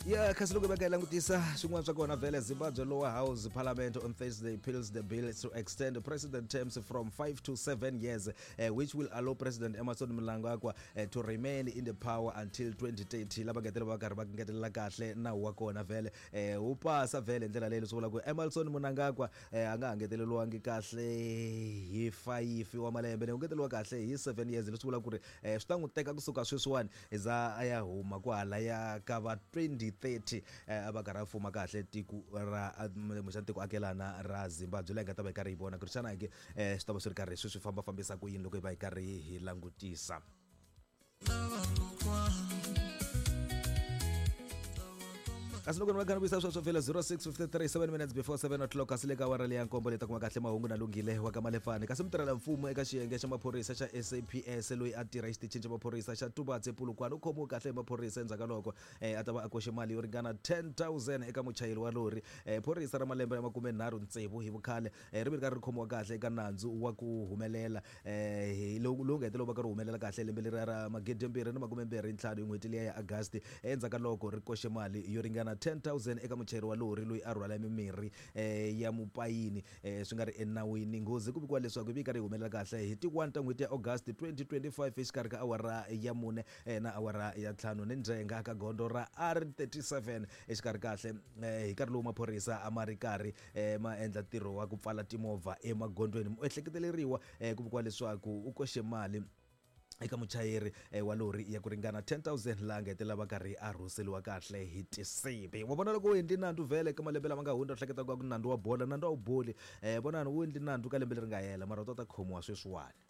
Ya, kasi loko hi va ka hi langutisa swin'wana swa kona vhele, Zimbabwe lower house parliament on Thursday peels the bill to extend president terms from 5 to 7 years, which will allow President Emmerson Mnangagwa to remain in the power until 2030. Lava ngetela va karhi va ngetelela kahle nawu wa kona vhele, wu pasa vhele hi ndlela leyi, leswi vula ku Emmerson Mnangagwa a nga ha ngeteleriwangi kahle hi 5 wa malembe, ne u ngeteriwa kahle hi 7 years, leswi vula ku ri swi ta n'wi teka kusuka sweswiwani za a ya huma kwahalaya ka va 2030, a va karhi a fuma kahle tiko ra kumbexana tiko akelana ra Zimbabwe. Leyi nga ta va hi karhi hi vona ku ri xana ke swi ta va swi ri karhi swi swi fambafambisa ku yini loko hi va hi karhi hi langutisa. Kasi loko ni va kha ni vuyisa sweswo vhela 06:53, 7 minutes before 7 o'clock, kasi le ka awara leya nkombo leyi ta kuma kahle mahungu na Lunghile wa ka Malefani. Kasi mutirhela mfumo eka xiyenge xa maphorisa xa SAPS loyi a tirha exitichini xa maphorisa xa Tubatse, Polokwane, u khomiwe kahle hi maphorisa endzhaku ka loko a ta va a koxe mali yo ringana 10,000 eka muchayeri wa lori. Phorisa ra malembe ya 36 hi vukhale ri ve ri karhi ri khomiwa kahle eka nandzu wa ku humelela lowu lowu nga hetelela wu va ka ri humelela kahle lembe leriya ra 2025 hi n'hweti liya ya August, endzhaku ka loko ri koxe mali yo ringana 10,000 eka muchayeri wa lori loyi a rhwala mimirhi ya mupayini swi nga ri enawini. Nghozi ku vikiwa leswaku yi ve yi karhi yi humelela kahle hi ti 1 ta n'hweti ya August 2025 exikarhi ka awara ya 4 na awara ya 5 ni ndzhenga ka gondzo ra R37 exikarhi kahle, hi nkarhi lowu maphorisa a ma ri karhi ma endla ntirho wa ku pfala timovha emagondzweni. Muehleketeleriwa ku vikiwa leswaku u koxe mali eka muchayeri wa lori ya ku ringana 10,000, laha nga hetelela va karhi a rhuseliwa kahle hi tinsimbi. Wa vona, loko u endli nandzu vhele ka malembe lama nga hundza, u hleketa ku nandzu wa bola, nandzu a wu boli. Vonani, u endli nandzu ka lembe leri nga hela, mara u ta ta khomiwa sweswiwani.